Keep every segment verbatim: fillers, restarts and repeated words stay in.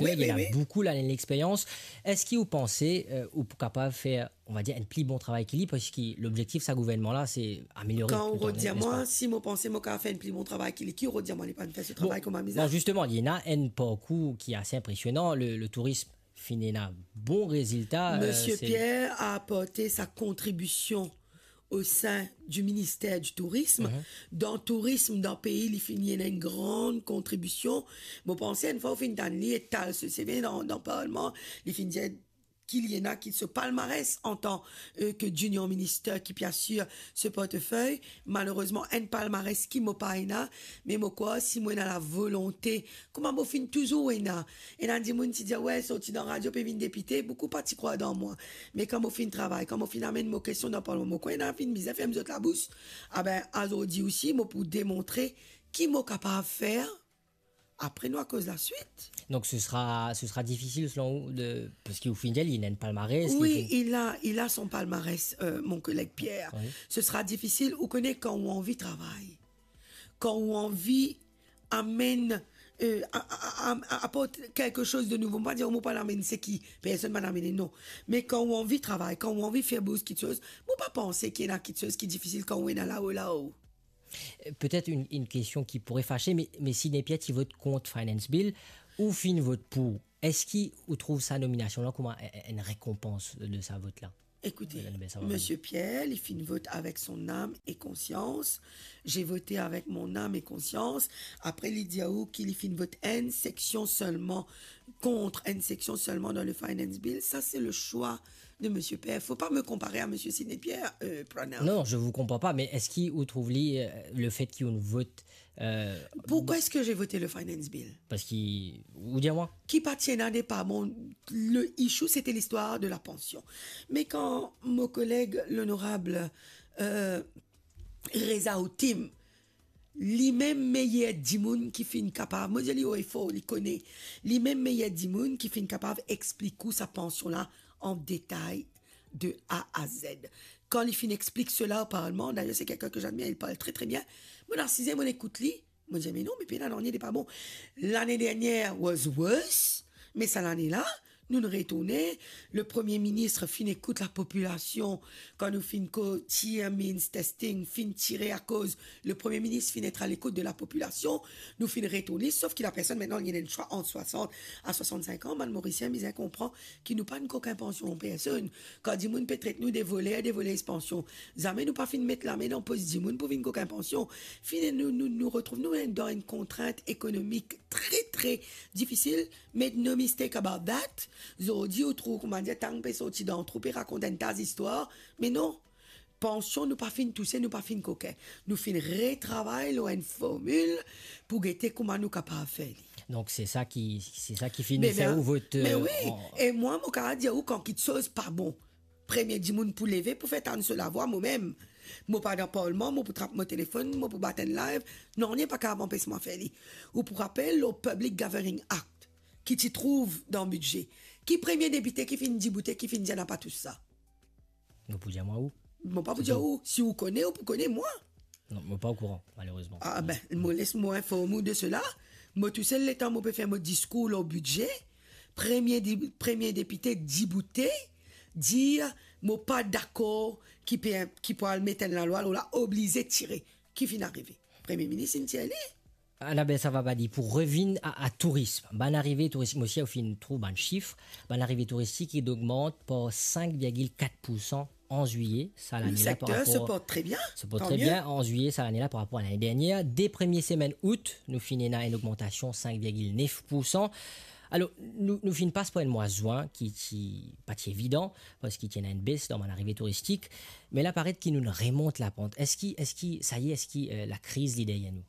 Wi, wi, wi. Ena boukou lane lexperyans. Eski ou panse, euh, ou pou kapav fer, on va dir, enn pli bon travay ki li, parski lobzektif sa gouvernman la, se ameliore tou le tan, n'est-ce pas? Kan ou rod dir mwa, si mo panse mo kapav fer enn pli bon travay ki li, ki ou rod dir mwa li pa fer so travay kouma mizan? Bon, bon, zisteman, li ena enn parkour ki ase inpresionan, le, le tourism finn ena bon rezilta, euh, Misie Pierre a aport sa kontribision o sin di minister di tourism. Mhm. Dan tourism, dan pei, li finn ena enn gran kontribision. Mo panse, enn fwa ou finn tann li etal so CV dan, dan parlman, li finn dir ki li ena ki so palmares antan, euh, ke junior minister ki pe asir so portefey. Malerezman, enn palmares ki mo pa ena, me mo krwar si mo ena lavolonte, kouma mo finn touzour ena, ena dimoun ti dir, "We, sorti dan radio pe vinn depite," boukou pa ti krwar dan mwa. Me kan mo finn travay, kan mo finn amenn mo kestion dan parlman, mo krwar ena finn bizin ferm zot labous. Abe, azordi osi, mo pou demontre ki mo kapav fer. Apre nou akoz laswit. Donc ce sera, ce sera difficile selon vous de, parce que au final, il a une palmarès, il fait... Oui, il a, il a son palmarès, euh, mon collègue Pierre. Oui. Ce sera difficile, ou kone kan ou anvi travay, kan ou anvi amenn, euh, a, a, a, a, aport quelque chose de nouveau. Mo pa dir mo pa amenn seki personn pa amenn, non. Me kan ou anvi travay, kan ou anvi fer bouz kiksoz, mo pa panse ki ena kiksoz ki difisil kan ou ena lao, lao. Euh, peut-être une, une question qui pourrait fâcher, mais, mais si Nepia ti vot kont Finance Bill, ou finn vot pou, eski ou trouv sa nominasion la kouma enn, enn rekonpans de sa vot la? Ekoute, Madame Bessarabie. Misie Pierre, li finn vot avek son nam e konsians. J'ai voté avec mon âme et conscience. Apre, li dir ou ki li finn vot enn seksion selman, kont enn seksion selman dan le Finance Bill. Sa, se le swa de Misie Pierre. Fo pa mo konpare a Misie Sidney Pierre, euh, Pranel. Non, je vous comprends pas, mais eski ou trouv li, euh, le fait ki ou vot, euh... Pourquoi est-ce que j'ai voté le Finance Bill? Parski, ou dir mwa. Ki pa ti ena depa, bon, le issue, c'était l'histoire de la pension. Me kan mo koleg, l'honorable, euh, Reza Outim, li mem meyer dimoun ki finn kapav, mo dir li o e for, li kone, li mem meyer dimoun ki finn kapav explik ou sa pansion la an detay de A à Z. Kan li finn explik sela o parlman, d'ailleurs c'est quelqu'un que j'admire, il parle très, très bien. Mo asize, mo ekout li, mo dir, "Me non, me pena nanye de pa bon." L'année dernière was worse, me sa lane la, nou, nou retourne, le Premier Ministre finn ekout lapopilasion, kan nou finn koz tir means testing, finn tire akoz le Premier Ministre finn et a lekout de lapopilasion, nou finn retourne, sof ki lapersonn, mintnan, li ena enn swa ant swasant a swasant-sink an, bann Morisien bizin konpran ki nou pa enn kokin pansion personn. Kan dimoun pe tret nou de voler, de voler pansion, zame nou pa finn met lame dan pos dimoun pou vinn kokin pansion. Fini, nou, nou, nou retrouv nou dan enn kontrint ekonomik tre, tre difisil. Make no mistake about that. Zordi, ou trouv, koumadir, tang pe sorti dan trou, pe rakont enn ta zistwar. Me non, pansion, nou pa finn touse, nou pa finn kokin. Nou finn retravay lor enn formil pou gete kouma nou kapav fer li. Donk, se sa ki, se sa ki fini fer ou vot, me euh, wi, an- e mwa, mo kapav dir ou kan kiksoz pa bon, premie dimoun pou leve pou fer tann so lavwa, mo mem. Mo pa dan parlman, mo pou trap mo telefonn, mo pou bat enn live. Nanye pa kapav anpes mwa fer li. Ou pou rapel lor Public Gathering Act, ki ti trouv dan bidze. Ki premie depite ki finn diboute, ki finn dir napa tousa? Nou pou dir mwa ou. Mo pa pou dir ou, si ou kone, ou pou kone mwa. Non, mo pa okouran, malerezman. Ah ben, mo les mo inform ou de sela. Mo tousel, letan mo pe fer mo diskour lor bidze, premie di-, premie depite diboute, dir mo pa dakor ki pe, ki pou al met enn lalwa, ou la oblize tire. Ki finn arive? Premie minis inn tir li. Annabelle Savabadi, pou revinn a, a tourism, bann arive touristik, mo osi ou finn trouv bann sif, bann arive touristik inn ogmant par sink virgil kat poursan an zwiye sa lane la par rapor... Le secteur se porte très bien, tant mieux. Se porte très bien an zwiye sa lane la par rapor a lane dernier. De premie semenn out, nou finn ena enn ogmantasion sink virgil nef poursan. Alor, nou, nou finn pas par enn mwa zwin ki, ki pa ti evidan, parski ti ena enn bes dan bann arive touristik, me la paret ki nou remont lapant. Eski, eski, saye, eski, euh, lakriz li deryer nou?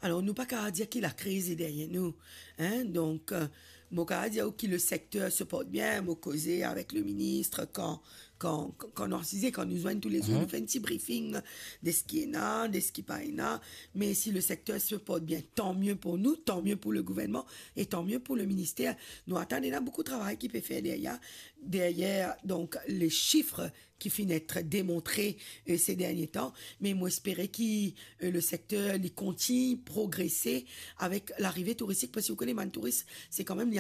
Alor, nou pa kapav dir ki lakriz li deryer nou, hein. Donk, euh, mo kapav dir ou ki le secteur se porte bien, mo koze avek le minis kan, kan, kan nou asize, kan nou zwenn toulezour, nou fer enn ti briefing de seki ena, de seki pa ena. Me si le secteur se porte bien, tant mieux pour nous, tant mieux pour le gouvernement et tant mieux pour le ministère. Nou atann ena boukou travay ki pe fer deryer, deryer, donk, le sif ki finn et demontre, euh, se dernie tan, me mo espere ki, euh, le secteur li kontign progrese avek larive touristik, parski ou kone bann touris, se kanmem li